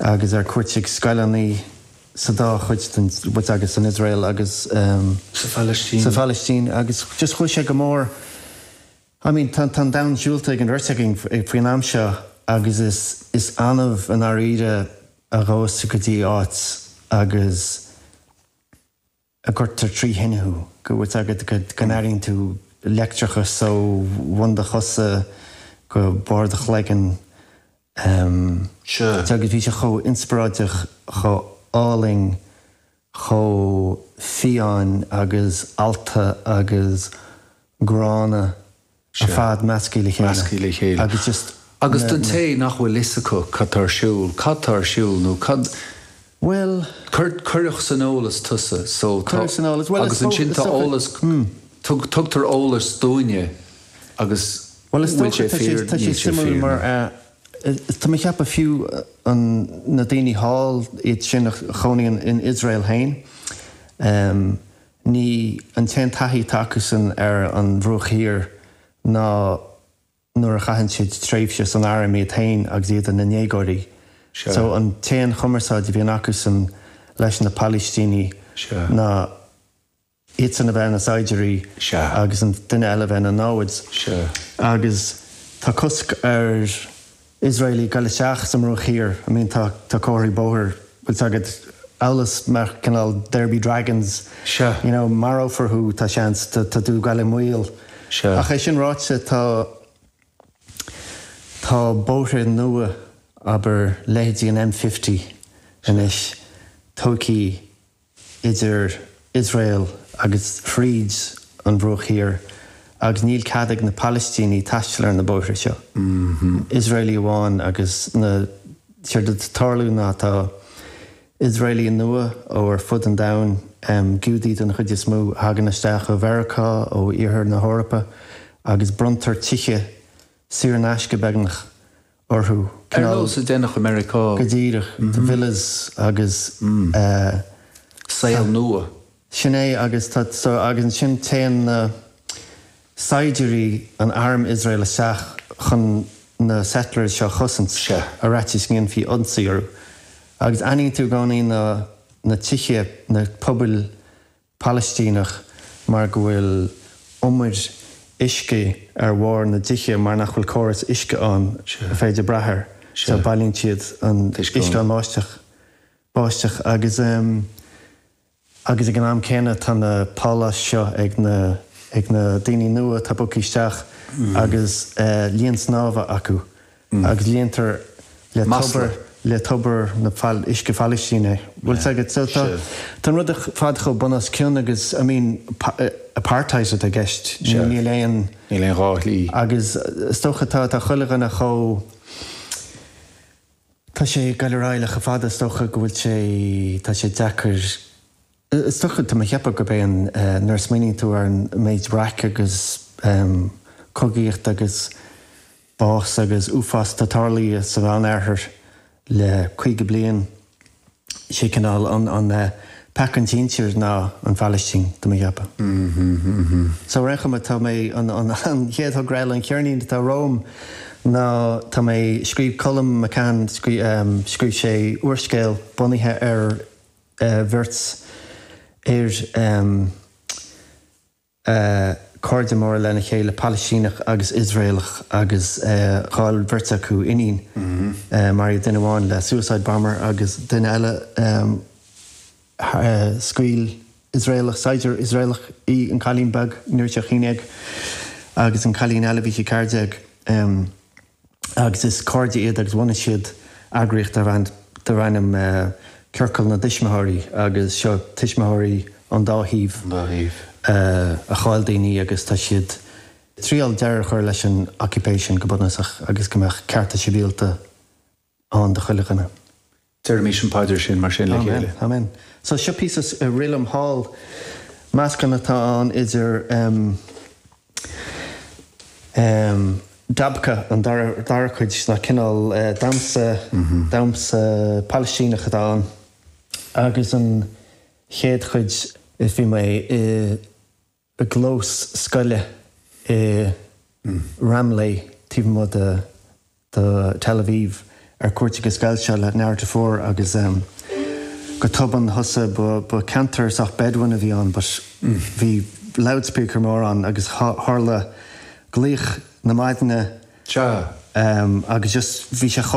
Agus ar cuairt ag scoileanna sa dá chuid den, bhuel agus san Iosrael agus. Sa Phalaistín. Sa Phalaistín agus just chuaigh sé go mór, I mean tá an domhan siúlta ag an bheirt againn faoin am seo agus is, is annamh i ndáiríre a ghabhas tú go dtí áit agus a gcuirtear trí thine thú, go bhfuil fhios agat go n-airíonn tú leictreachas ó bhun do chosa go barr do chloigeann. Sea. Agus bhí sé chomh inspioráideach, chomh álainn, chomh fiáin agus allta agus gránna ar fad measctha le chéile. Measctha le chéile. Agus just. Agus don té nach bhfuil fhios acu cad tá ar siúl, cad tá ar siúl nó cad. Bhuel. Cuireadh san eolas tusa so tá. Cuireadh san eolas. Bhuel is. Agus ansin tá eolas, tugtar eolas dúinne agus Bhuel is bhfuil dócha sé tá sé fíor, tá sé níl sé suimiúil fíor mar nó. tá mé ag ceapadh fiú an na daoine thall iad sin a chónaíonn in Iosrael féin ní an t-aon taithí atá acusan ar an Bhruach Thiar ná nuair a chaitheann siad tréimhse san arm iad féin agus iad ina ndéagóirí. Sea. So an t-aon chumarsáid a bhíonn acusan leis na Palaistínigh Sea. ná iadsan a bheith ina saighdiúirí Sea. agus an duine eile a bheith ina namhaid. Sea. Agus tá cosc ar Iosraelaigh goil isteach sa mBruach Thiar. I mean tá tá comharthaí bóthair, bhfuil 's agat, amhail is mar cineál there be dragons. Sea. You know, marófar thú, tá seans, tá tá tú ag goil i mbaol. Sea. Ach é sin ráite, tá tá bóithre nua, abair leithéidí an M50 anois, tógtha idir Iosrael agus thríd an Bhruach Thiar agus níl cead ag na Palaistínigh taisteal ar na bóithre seo. Iosraelaigh amháin agus na, séard atá ag tarlú ná tá Iosraelaigh nua ó ar fud an domhain, Giúdaigh den chuid is mó, a thagann isteach ó Mheiriceá, ó Iarthar na hEorpa agus bronntar tithe saor in aisce beagnach orthu. Ar nós a deineadh i Meiriceá. Go díreach. Villas agus. Saol nua. Sin é agus tá so agus ansin téann na saighdiúirí an arm Iosrael isteach chun na settlers seo a chosaint ar fhaitíos go ndéanfaí ionsaí orthu. Agus aithníonn tú i gcónaí na na tithe, na pobail Palaistíneach mar go bhfuil umair uisce ar bharr na dtithe mar nach bhfuil córas uisce ann ar féidir brath air so bailíonn siad an uisce ón mbáisteach báisteach agus agus ag an am céanna tá na páláis seo ag na ag na daoine nua atá bogtha isteach agus linn snámha acu. agus líontar le tobar le tobar na uisce Phalaistín é. Bhfuil 's agat? So tá tá an rud ar fad chomh bun os cionn agus I mean apartheid atá i gceist. Níl aon. Níl aon dhá shlí. Agus is dócha tá tá chuile dhuine chomh tá sé ag goil ar aghaidh le chomh fada is dócha go bhfuil sé tá sé deacair Is dócha, tá mé ag ceapadh gurb é an, nuair a smaoiníonn tú ar an méid raic agus cogaíocht agus bás agus uafás atá tarlaithe sa Mheánoirthear le 50 bliain, sé cineál an peaca an tsinsir ná an Phalaistín, tá mé ag ceapadh. So ar aon chuma, tá mé, an chéad thogra eile, an ceirnín atá romham ná tá mé, scríobh Colm McCann, scríobh sé úrscéal bunaithe ar bheirt fhear, cairde móra lena chéile, Palaistíneach agus Iosraelach agus chaill beirt acu iníon. Maraíodh duine amháin le suicide bomber agus duine eile scaoil Iosraelach, saighdiúir Iosraelach í, an cailín beag, ní raibh sí ach 11 agus an cailín eile bhí sí 14. agus is cairde iad agus bhunaigh siad eagraíocht darb ainm Ciorcal na dTuismitheoirí agus seo tuismitheoirí ón dá thaobh a chaill daoine agus tá siad ag triail deireadh a chur leis an occupation go bunúsach agus go mbeadh cearta sibhialta ann do chuile dhuine. Deirimis an phaidir sin mar sin le chéile. Amen. Amen. So seo píosa a rith liom thall, meascán atá ann idir em em dabka, an dara dara cuid, ná cineál eh damhsa damhsa Palaistíneach atá ann, agus an chéad chuid is bhí mé i i gclós scoile i Ramle taobh amuigh de Tel Aviv. ar cuairt ag an scoil seo le Narrative 4 agus go tobann thosaigh, ba ceantar sách Bedouin a bhí ann but bhí loudspeaker mór ann agus tharla glaoch na maidine Sea. agus just bhí sé chomh.